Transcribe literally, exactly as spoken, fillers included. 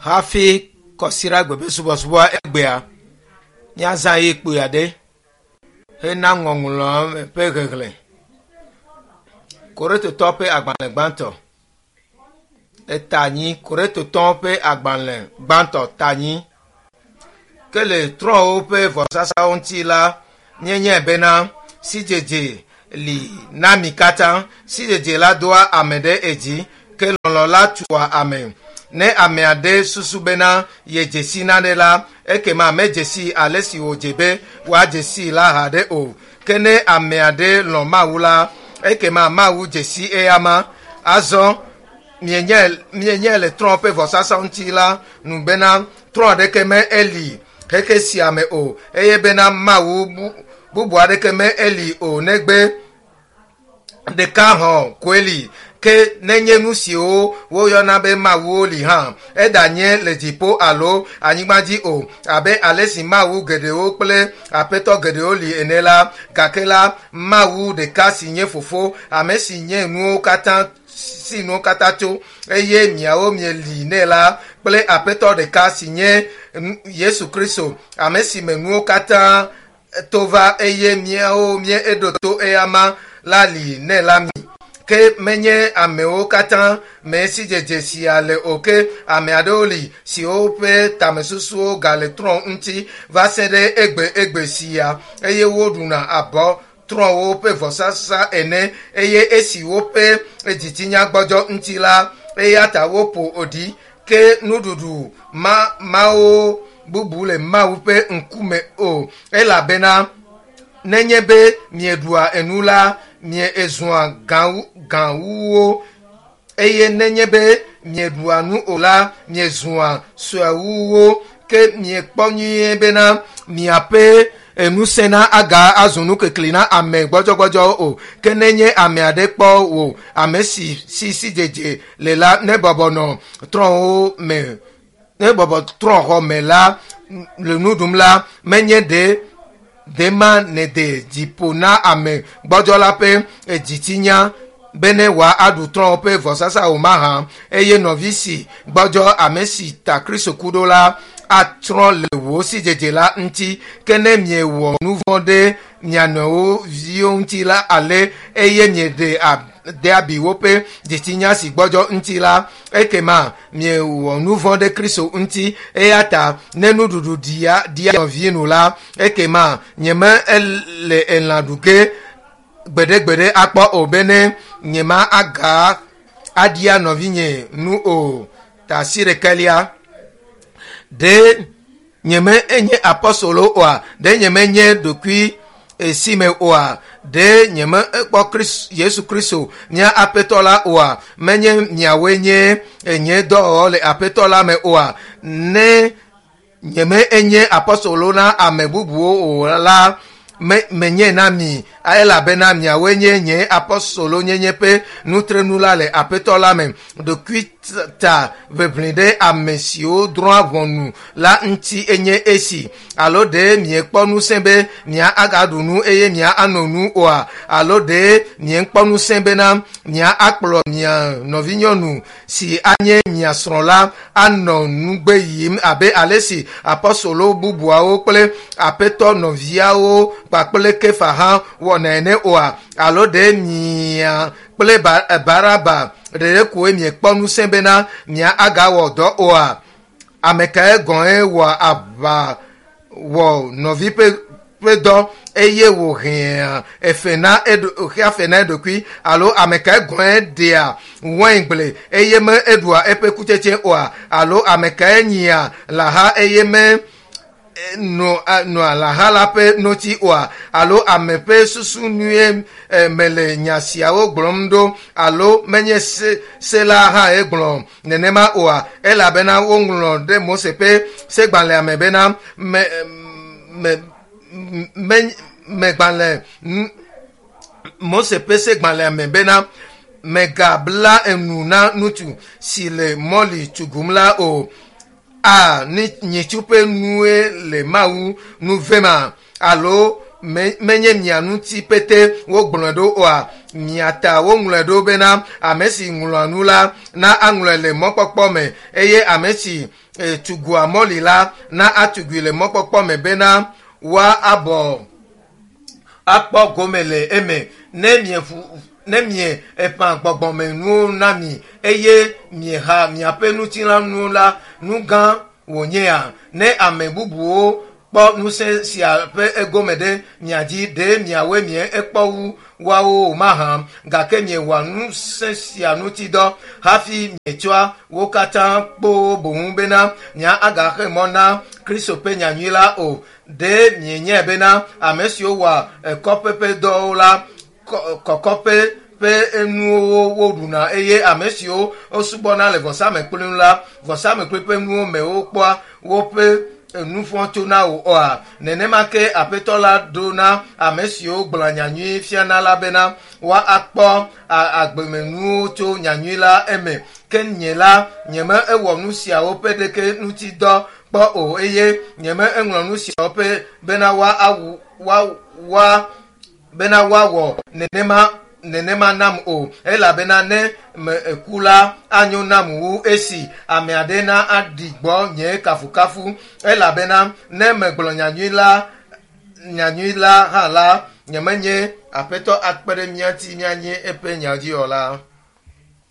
Hafi kɔsiɖagbe ƒe subɔsubɔ egbea, míazã ɣeyiɣi kpui aɖe hena ŋɔŋlɔ ƒe xexlẽ. Korintotɔ ƒe agbalẽ gbãtɔ eta anyi. Korintotɔwo ƒe agbalẽ gbãtɔ ta anyi. Ke le trɔ̃wo ƒe vɔsasawo ŋuti la, míenyae bena sidzedze li na mi katã. Sidzedze la doa ame ɖe edzi, ke lɔlɔ̃ la tua ame. Ne ame aɖe susu bena yedze si nane la, ekema medze si ale si wòdze be woadze sii la haɖe o. Ke ne ame aɖe lɔ̃ Mawu la, ekema Mawu dze si eyama. Azɔ mienyae mienyae le trɔ̃ ƒe vɔsasa ŋuti la nu bena trɔ̃ aɖeke me eli xexe sia me o eye bena Mawu bu, bubu aɖeke me eli o negbe ɖeka hɔ̃ koe li. Ke nenye nu siwo woyɔna be mawuwo li hã, eɖanye le dziƒo alo anyigba dzi o, abe ale si mawu geɖewo kple aƒetɔ geɖewo li ene la, gake la, Mawu ɖeka si nye Fofo, ame si nye nuwo katã si nuwo katã tso, eye miawo mieli nɛ la, kple Aƒetɔ ɖeka si nye Yesu Kristo, ame si me nuwo katã to va eye míawo míeɖo to eyama la li nɛ la mi. Ke menye amewo katã mee sidzedze sia le o ke ame aɖewo li siwo ƒe tamesusuwo gale trɔ̃ ŋuti va se ɖe egbe egbe sia eye woɖuna abɔ trɔ̃wo ƒe vɔsasa ene eye esi woƒe dzitsinya gbɔdzɔ ŋuti la, eya ta woƒo ɖi. Ke nuɖuɖu ma mawo bubu le Mawu ƒe ŋkume o elabena nenye be mieɖua enu la, miezua gãwuwo eye nenye be mieɖua nu o la, miezua suewuwo. Ke miekpɔ nyuie bena miaƒe ŋusẽ na aga azu nukekli na ame gbɔdzɔgbɔdzɔwo o. Ke nenye ame aɖe kpɔ wò ame si si sidzedze le la, nebɔbɔ nɔ trɔ̃wo me nebɔbɔ trɔ̃xɔ me la le nu ɖum la, menye ɖe ɖe ma nède dzi ƒo na ame gbɔdzɔ la ƒe dzitsinya bene wòaɖu trɔ̃wo ƒe vɔsasa o mahã? Eye nɔvi si gbɔdzɔ ame si ta Kristo ku ɖo la atsrɔ̃ le wò sidzedze la ŋuti. Ke ne miewɔ nu vɔ̃ ɖe mia nɔewo viwo ŋuti la ale eye mieɖe de abi woƒe dzitsinya si gbɔdzɔ ŋuti la, ekema miewɔ nu vɔ̃ ɖe Kristo ŋuti. Eya ta ne nuɖuɖu ɖia ɖia nɔvi nu la, ekema nyeme le elã ɖu ge gbeɖegbeɖe akpɔ o bene nyema aga aɖia nɔvinye nu o. Ta asi ɖekɛlia ɖe nyeme enye apɔstolo oa? Ɖe nyeme nye ɖokui esi me oa? Ɖe nyeme ekpɔ Yesu Kristo mía Aƒetɔ la oa? Menye miawoe nye nye dɔwɔwɔ le Aƒetɔ la me oa? Ne nyeme enye apɔstolo na ame bubuwo o la, me menye na mi elabena miawoe nye nye apɔstolonyenye ƒe nutrenu la le Aƒetɔ la me. Ɖokuita ʋeʋli ɖe ame siwo drɔ̃a ʋɔnu la ŋuti enye esi. Alo ɖe miekpɔ ŋusẽ be mia agaɖu nu eye mia ano nu oa? Alo ɖe miekpɔ ŋusẽ bena mia akplɔ mia nɔvinyɔnu si anye mia srɔ̃ la anɔ nugbe yim abe ale si apɔstolo bubuawo kple Aƒetɔ nɔviawo kpakple Kefa hã wɔna ene oa? Alo ɖe mia kple Baraba ɖeɖe koe miekpɔ ŋusẽ bena mia agawɔ dɔ oa? Ame kae gɔ̃e wɔa aʋa wɔ nɔvi ƒe ƒe dɔ eye wòhea efe na eɖo xea fe na eɖokui? Alo ame kae gɔ̃e ɖea waingble eye me eɖua eƒe kutsetse oa? Alo ame kae nyia lãha eye me nɔa lãha la ƒe notsi oa? Alo ame ƒe susu nue mele nya siawo gblɔm ɖo? Alo menye se, se la hãe gblɔ nenema oa? Elabena woŋlɔ ɖe Mose ƒe segbalẽa me bena me, me, me, megbalẽ Mose ƒe segbalẽa me bena megabla enu na ŋutsu si le mɔli tugum la o. A nyitsu ƒe nue le Mawu nu vema? Alo menye mia ŋuti pete wogblɔe ɖo oa? Mia ta woŋlɔe ɖo bena ame si ŋlɔa nu la na aŋlɔe le mɔkpɔkpɔ me eye ame si e, tugua mɔli la na atugui le mɔkpɔkpɔ me bena woa abɔ akpɔ gome le eme ne mieƒu ne mie eƒã gbɔgbɔmenuwo na mi eye mieha miaƒe ŋutilãnuwo la nu gã wònyea ne ame bubuwo kpɔ ŋusẽ sia ƒe egome ɖe mia dzi ɖe miawoe mie ekpɔ wu woawo o mahã gake miewɔa ŋusẽ sia ŋuti dɔ hafi mietsɔa wo katã kpoo boŋ bena mia agaxe mɔ na kristo ƒe nyanyui la o ɖe mienyae bena ame siwo wɔa kɔƒe ƒe dɔwo la kɔ- kɔkɔƒe ƒe nuwo woɖuna eye ame siwo wosubɔna le vɔsamekpli ŋu la vɔsamekpli ƒe nuwo me wokpɔa woƒe nufɔ tsona o oa nenema ke aƒetɔ la ɖo na ame siwo gblɔa nyanyui fiana la bena woakpɔ agbemenuwo tso nyanyui la eme ke nye la nyeme ewɔ nu siawo ƒe ɖeke ŋuti dɔ kpɔ o eye nyeme eŋlɔ nu siawo ƒe bena woa awu woa woa bena woawɔ nenema nenema nam o elabena ne me eku la anyo nam wu esi ame aɖe na aɖi gbɔ nye kafukafu elabena ne megblɔ nyanyui la nyanyui la hã la nyemenye aƒetɔ akpe ɖe mía ŋuti míanye eƒe nyadziwɔla.